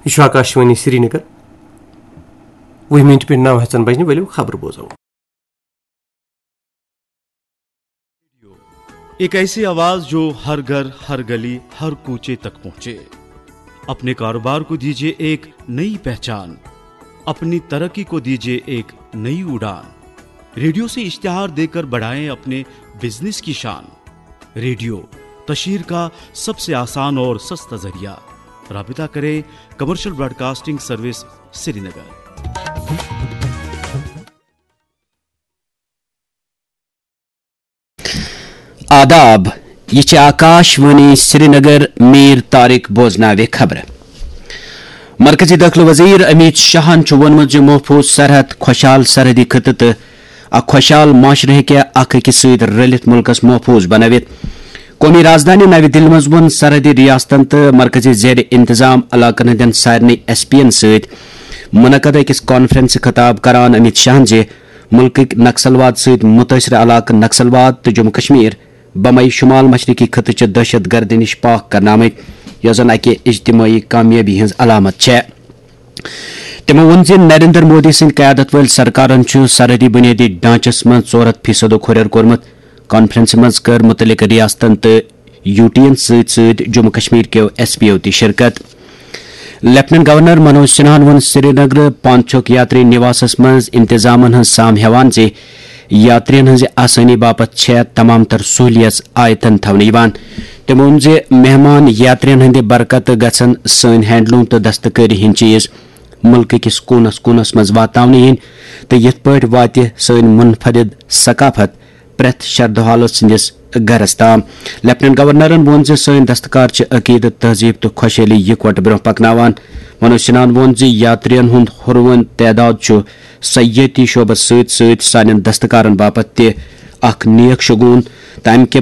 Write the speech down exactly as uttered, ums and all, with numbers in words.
یہ چھُ آکاشوانی سرینگر۔ وُہ منٹ پٮ۪ٹھ نو ہٮ۪ژن بجنہِ، ؤلِو خبرٕ بوزو۔ ایک ایسی آواز جو ہر گھر، ہر گلی، ہر کوچے تک پہنچے۔ اپنے کاروبار کو دیجیے ایک نئی پہچان، اپنی ترقی کو دیجیے ایک نئی اڑان۔ ریڈیو سے اشتہار دیکر بڑھائیں اپنے بزنس کی شان۔ ریڈیو، تشہیر کا سب سے آسان اور سستا ذریعہ۔ رابطہ کریں کمرشل براڈکاسٹنگ سروس، سرینگر۔ آداب، یہ چھِ آکاش وانی سرینگر۔ میر طارق بوزناوِ خبرٕ۔ مرکزی دٲخلہٕ وزیر امیت شاہن چھُ ووٚنمُت زِ محفوظ سرحد، خۄشحال سرحدی خطہٕ تہٕ اکھ خۄشحال معاشرٕ ہیٚکہِ اکھ أکِس سۭتۍ رٔلِتھ مُلکس محفوظ بنٲوِتھ۔ قومی رازدانہِ نَوِ دِلہِ منٛز ووٚن سرحدی ریاستن تہٕ مرکزی زیر انتظام علاقن ہٕنٛدٮ۪ن سارنٕے ایس پی ین سۭتۍ منعقد أکِس کانفرنسہِ خطاب کران امیت شاہن زِ مُلکٕکۍ نکسلواد سۭتۍ مُتٲثرٕ علاقہٕ نکسلواد تہٕ جموں کشمیر بمبئی شمال مشرقی خطہٕ چہِ دہشت گردی نِش پاک کرنہٕ آمٕتۍ، یۄس زن اکہِ اجتمٲعی کامیٲبی ہٕنٛز علامت چھےٚ۔ تِمو ووٚن زِ نریندر مودی سٕنٛدِ قیادت وٲلۍ سرکارن چھُ سرحدی بنیٲدی ڈھانچس منٛز ژور ہتھ فیصدُک ہُرٮ۪ر کوٚرمُت۔ کانفرنسہِ منٛز کٔر مُتعلقہٕ ریاستن تہٕ یو ٹی ین سۭتۍ سۭتۍ Jammu Kashmir Q S P U تہِ شرکت۔ لیفٹیننٹ گورنر منوج سنہاہن ووٚن سرینگر پانچوک یاتری نواسس منٛز انتظامن ہٕنٛز سام ہٮ۪وان زِ یاترین ہٕنٛزِ آسٲنی باپتھ چھےٚ تمام تر سہولیژ آیتن تھاونہٕ یِوان۔ تٔمۍ ووٚن زِ مہمان یاترین ہٕنٛدِ برکتہٕ گژھن سٲنۍ ہینڈلوم تہٕ دستکٲری ہٕنٛدۍ چیز مُلکہٕ کِس کوٗنس کوٗنس منٛز واتناونہٕ یِنۍ تہٕ یِتھ پٲٹھۍ واتہِ سٲنۍ منفرد ثقافت پرٛٮ۪تھ شردھوالہٕ سٕنٛدِس گرس تام۔ لیفٹیننٹ گورنرن ووٚن زِ سٲنۍ دستکار چھِ عقیدٕ، تہذیب تہٕ خۄشحٲلی یِکوٹہٕ برٛونٛہہ پکناوان۔ منوج سنہاہن ووٚن زِ یاترین ہُنٛد ہُروٕن تعداد چھُ سیٲحتی شعبس سۭتۍ سۭتۍ سانٮ۪ن دستکارن باپتھ تہِ اکھ نیک شگون تہٕ امہِ کہِ